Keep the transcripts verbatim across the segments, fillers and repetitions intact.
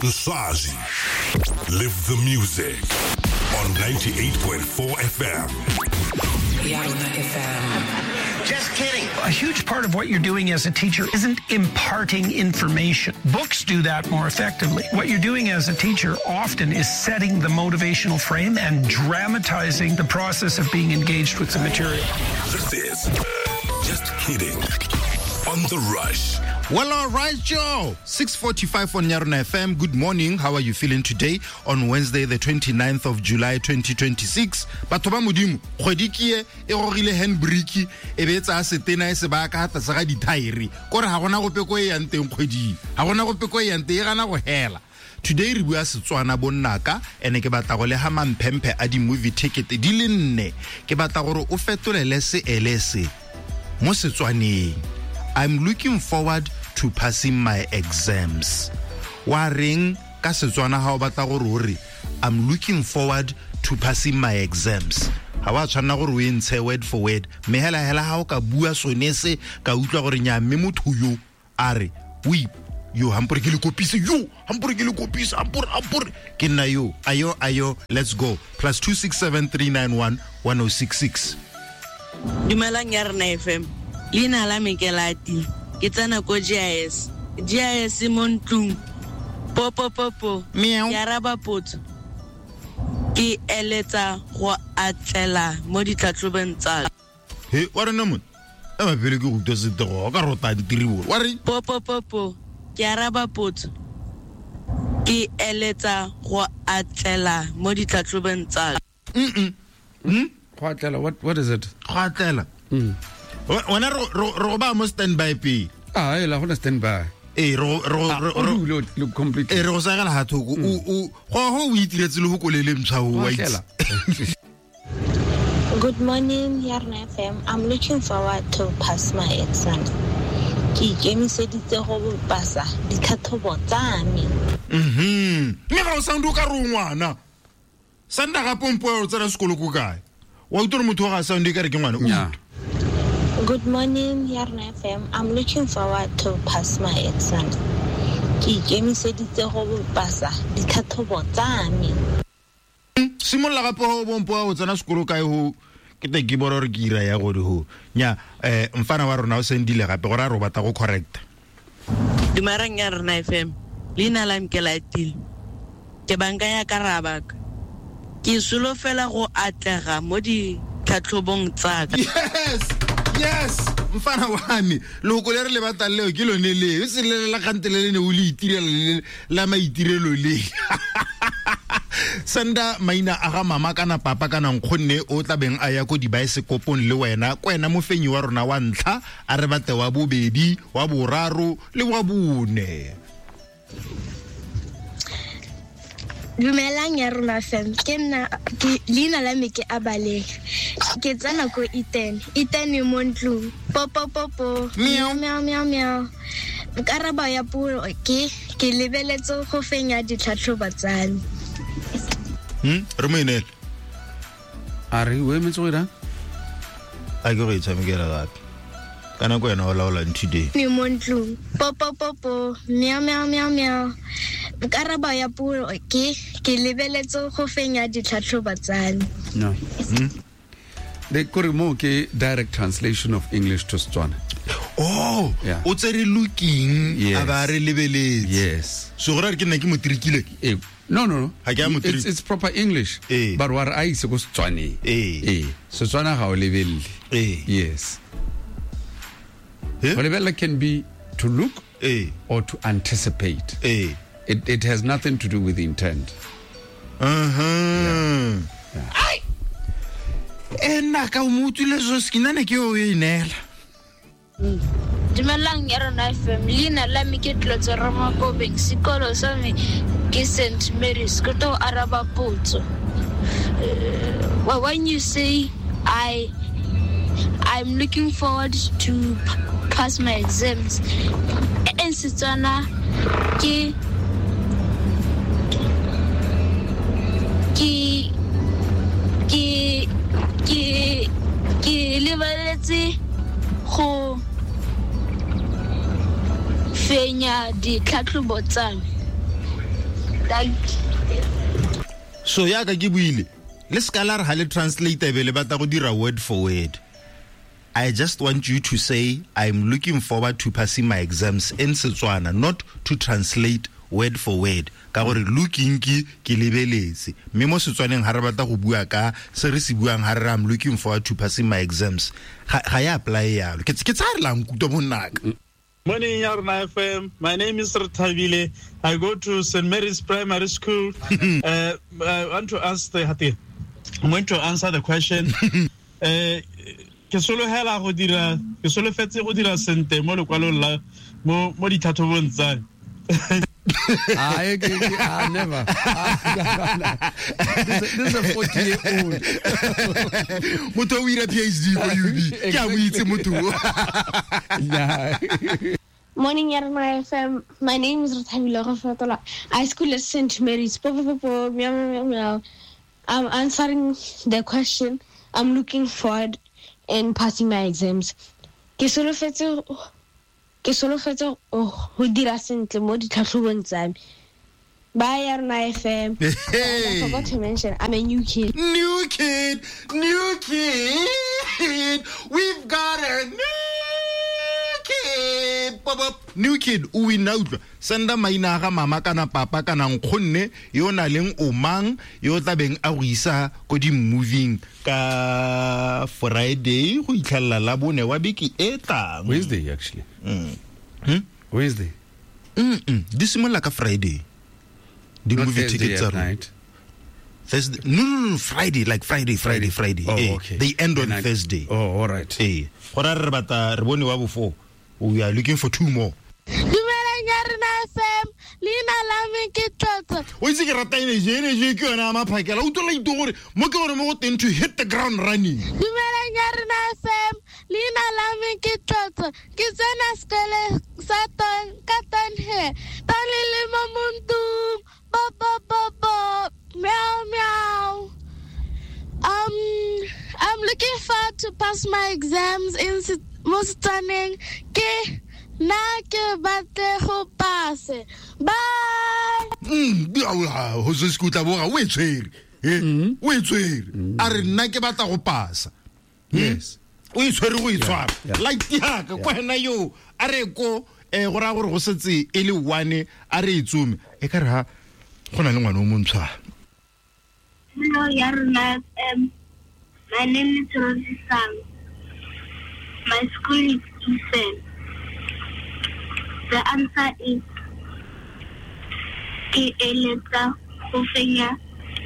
Nsaji. Live the music on ninety-eight point four F M. Yarona F M. Just kidding. A huge part of what you're doing as a teacher isn't imparting information. Books do that more effectively. What you're doing as a teacher often is setting the motivational frame and dramatizing the process of being engaged with the material. This is Just Kidding on The Rush. Well, all right, Joe. six forty-five on Yarona F M. Good morning. How are you feeling today on Wednesday, the twenty-ninth of July, twenty twenty-six? Batho ba Modimo, kgwedi ke e e gogile handbrake e be tsa setena e se ba ka tlase ga dithaere. Kore ha gona gope ko e yang teng kgwedi. Ha gona gope ko e yang teng, e gana go hela. Today re bua Setswana bonnaka ene ke batla go le ha mamphemphe a di movie ticket di le nne. Ke batla gore o fetolele se ele se mo Setswaneng. I'm looking forward to passing my exams. Wa reng ka Setswana ha o batla gore o re I'm looking forward to passing my exams. Ha wa tshwanna gore o e ntshe word for word. Mme hela hela ha o ka bua sone se ka utlwa gore nya mme motho yo a re o yo hampore ke le kopise yo hampore ke le kopise hampore hampore ke nna yo ayo ayo let's go plus two six seven three nine one one oh six six. Dumelang ya rena F M. Leina la me ke Lati. Ke tsena ko G I S. G I S mo ntlung. Po po po po. Meow. Ke araba potso. Ke eletsa go atlela mo ditlhatlhobong tsa. He, wa rena mo? E ba pele ke go utlwa setego, o ka rota ditiribo. Wa re? Po po po po. Ke araba potso. Ke eletsa go atlela mo ditlhatlhobong tsa. Mm. Mm. Go atlela, what what is it? Go atlela. Mm. Wena ro ro ba mo standby pe. Ah, e la gona standby. Eh ro ro ro lo complete. Eh ro sa gala ha thoko o o go go o itiretse le go kolele mtsha o wa itse. Good morning, Yarona F M. I'm looking forward to pass my exam. Ke ikemiseditse go pasa ditlhatlhobo tsa me. Mhm. Mme ga o sound o ka re ngwana. Sanda ga pompo o tsena sekolo ko kae? Wa utlwa motho ga sound e ka re ke ngwana. Yeah. Good morning, Yarona F M. I'm looking forward to pass my exam. Ke ikemiseditse go pasa ditlhatlhobo tsa me. Simolla gape ho bompo o tsena sekolo kae ho ke te ke bona gore ke ira ya gore ho. Nya eh mfana wa rona o sendile gape gore a re batla go correct. Dumelang Yarona F M. Leina la me ke Latile. Ke banka ya Karabaka. Ke solofela go atlega mo ditlhatlhobong tsa ka. Yes. Yes, mfana wa me loko le re le batla leo ke lone le e se le la kgantele le ne o le itirela la maitirelo le. Senda maina a ga mama kana papa kana nkgonne o tla beng a ya ko dibaesekopong le wena ko wena mofenyi wa rona wa ntlha a re batle wa bobedi wa boraro le wa bone. Dumelang ya rona F M. Ke nna ke leina la me ke Abaleng. Ke tsena ko Iten. Iten mo ntlung. Po po po po. Meow meow meow meow. Karabo ya puo ke ke lebeletse go fenya ditlhatlhobo tsa me. Hm, re mo inele. A re o emetse go ira? A ke go e tshamekela gape. Kana ko wena o laolang today. Ni mo ntlung. Po po po po. Meow meow meow meow. Karabo ya puo ke ke lebeletse go fenya ditlhatlhobo tsa me. No. Hmm? The kore mo ke direct translation of English to Setswana. Oh, yeah. O tsere looking yes. A ba re lebeletse. Yes. So gore re ke nna ke mo trikile. Eh, no no no. Ha ke a mo It's, it's proper English. Eh. But wa re a ise ko Setswaneng. Eh. Eh. Setswana ga o lebelle. Eh. Yes. Eh? Go lebella can be to look eh. or to anticipate. Eh. It it has nothing to do with intent. Uh-huh. Yeah. Yeah. Ai. Ena ka o mutule so skinane ke o e inela. Dumelang ya rona F M. Leina la me ke Tlotso Ramakobeng. Sekolo sa me ke Saint Mary's. Ke tlo araba potso. Uh, when you say I I'm looking forward to pass my exams, in Setswana ke ke ke ke ke lebeletse go fenya ditlhatlhobo tsa me. Thank you. So yaka ke buile le ska la re ha le translate be le batla go dira word for word. I just want you to say I'm looking forward to passing my exams in Setswana, not to translate word for word. Ka gore looking ke ke lebeletse mme mo Setswaneng ha re batla go bua ka se re se buang ha re I'm looking forward to passing my exams ga ga ya apply yalo ke ke tsare la nkutlwa monnaka. Morning, Yarona F M. My name is Rethabile. I go to Saint Mary's Primary School. uh, I want to ask the I'm going to answer the question. Uh, ke sologela go dira ke solofetse go dira sente mo lekwalong la mo mo ditlhatlhobong tsa I, I never. This, this is a forty-year-old. Motho o ira P H D ko U B. Ke a mo itse motho. Morning, Yarona F M. My name is Rethabile Gofatola. I school at Saint Mary's. Po, po, po, po, meow, meow, meow. I'm answering the question. I'm looking forward in passing my exams. Ke solofetse ke solofetse go dira sentle mo ditlhatlhobong tsa me. Bye, Yarona F M. Hey. I forgot to mention, I'm a new kid. New kid, new kid. We've got a new kid. New kid, o wina utlwa. Senda maina ga mama kana papa kana nkgonne yo na leng o mang yo tlabeng a go isa ko di moving ka Friday go itlhalla la bone wa beke e tlang. Wednesday actually. Mm. Hmm? Wednesday. Mm -mm. Di simolola ka Friday. The movie tickets are night. Thursday. No, no, no, Friday, like Friday, Friday, Friday. Oh, eh, okay. They end on I, Thursday. Oh, all right. Eh. Go ra re batla re bone wa bofo. We are looking for two more. Dumelang Yarona F M. Leina la me ke Tlotlo. O itse ke rata energy, energy ke yona ya maphakela. O utlwa ito gore mo ke gore mo go teng to hit the ground running. Dumelang Yarona F M. Leina la me ke Tlotlo. Ke tsena sekole sa ton ka ton he. Ton le le mo montung. Bo bo bo bo. Meow meow. Um I'm looking forward to pass my exams in mo Setswaneng. Ke na ke batle go pass. Bye. Mm, ho se se kutla boga o e tshwere. Eh, o e tshwere. A re nna ke batla go pasa. Yes. O e tshwere go e tshwara. Like yaka kwa hena yo a re ko eh go ra gore go setse e le one a re e tsume. E ka re ha go na le ngwana o montshwa. Hello, Yarona F M. My name is Rosie Sang. My school is Eastern. The answer is ke eletsa go fenya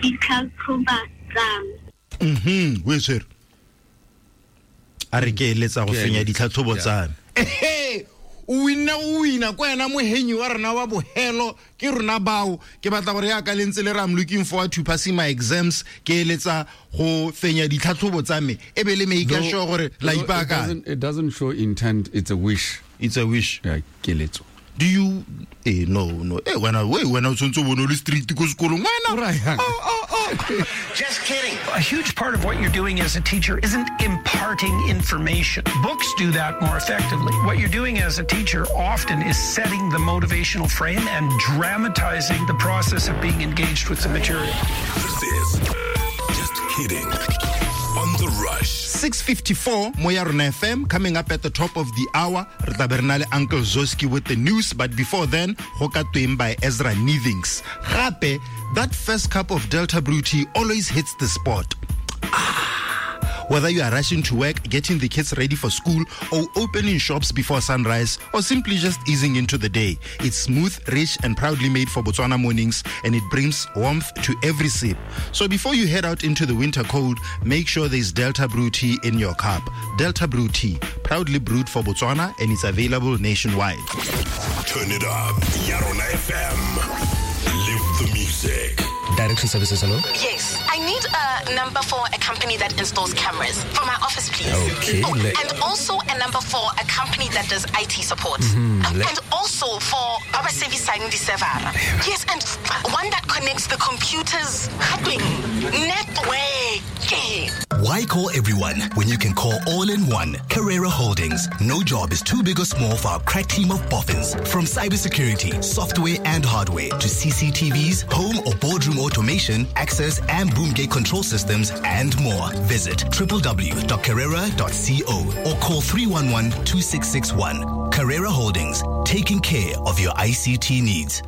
ditlhatlhobo tsa me. Mhm, we sir. A re ke eletsa go fenya ditlhatlhobo tsa me. Ehe, o wina o wina kwa ena mohenyi wa rena wa bohelo ke rona bao ke batla gore ya ka lentse le re I'm looking forward to passing my exams ke eletsa go fenya ditlhatlhobo tsa me e be le make sure gore la ipaka. It doesn't show intent, it's a wish. It's a wish. Yeah, keletso. Do you eh no no eh wena we wena o tshwantse o bone o le street ko sekolong wena. Oh oh oh. Just kidding. A huge part of what you're doing as a teacher isn't imparting information. Books do that more effectively. What you're doing as a teacher often is setting the motivational frame and dramatizing the process of being engaged with the material. This is Just Kidding on the Rush. six fifty-four mo Yarona F M, coming up at the top of the hour. Re tla be re na le Uncle Zoski with the news, but before then, go ka tweng by Ezra Nivings. Gape, that first cup of Delta Brew tea always hits the spot. Ah. Whether you are rushing to work, getting the kids ready for school, or opening shops before sunrise, or simply just easing into the day, it's smooth, rich, and proudly made for Botswana mornings, and it brings warmth to every sip. So before you head out into the winter cold, make sure there's Delta Brew tea in your cup. Delta Brew tea, proudly brewed for Botswana, and it's available nationwide. Turn it up. Yarona F M. Live the music. Direction services, hello? Yes, I need a number for a company that installs cameras for my office, please. Okay. Oh, le- and also a number for a company that does I T support. Mm-hmm. Um, Le- and also for Baba Service Server. Yes, and one that connects the computers. Network. Why call everyone when you can call all in one? Carrera Holdings. No job is too big or small for our crack team of boffins. From cybersecurity, software and hardware to C C T Vs, home or boardroom automation, access and boom gate control systems, and more. Visit w w w dot carrera dot co or call three one one, two six six one. Carrera Holdings, taking care of your I C T needs.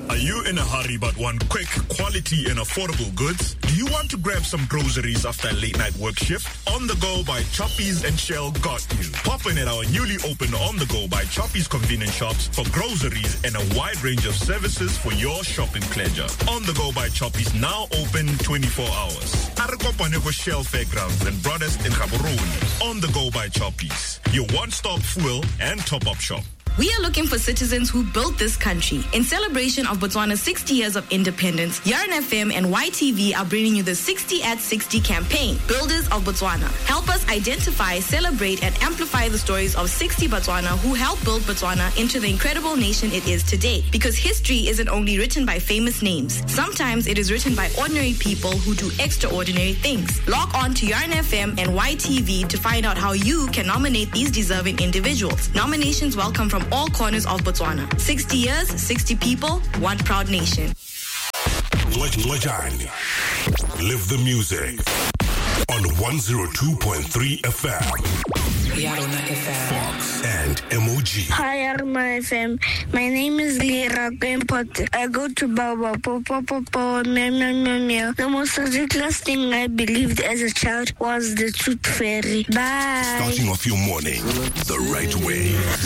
Are you in a hurry but want quick, quality and affordable goods? Do you want to grab some groceries after a late night work shift? On the Go by Choppies and Shell got you. Pop in at our newly opened On the Go by Choppies convenience shops for groceries and a wide range of services for your shopping pleasure. On the Go by Choppies, now open twenty-four hours. Arekopanego Shell Fairgrounds and Brothers in Gaborone. On the Go by Choppies, your one-stop fuel and top-up shop. We are looking for citizens who built this country. In celebration of Botswana's sixty years of independence, Yarn F M and Y T V are bringing you the sixty at sixty campaign, Builders of Botswana. Help us identify, celebrate, and amplify the stories of sixty Botswana who helped build Botswana into the incredible nation it is today. Because history isn't only written by famous names. Sometimes it is written by ordinary people who do extraordinary things. Log on to Yarn F M and Y T V to find out how you can nominate these deserving individuals. Nominations welcome from all corners of Botswana. sixty years, sixty people, one proud nation. Lejani. Live the music on one oh two point three F M. Yarona F M. Fox and M O G. Hi, Yarona F M. My name is Lira Greenpot. I go to Baba. Po, po, po, po, meow, meow, meow, meow. The most ridiculous thing I believed as a child was the tooth fairy. Bye. Starting off your morning the right way. The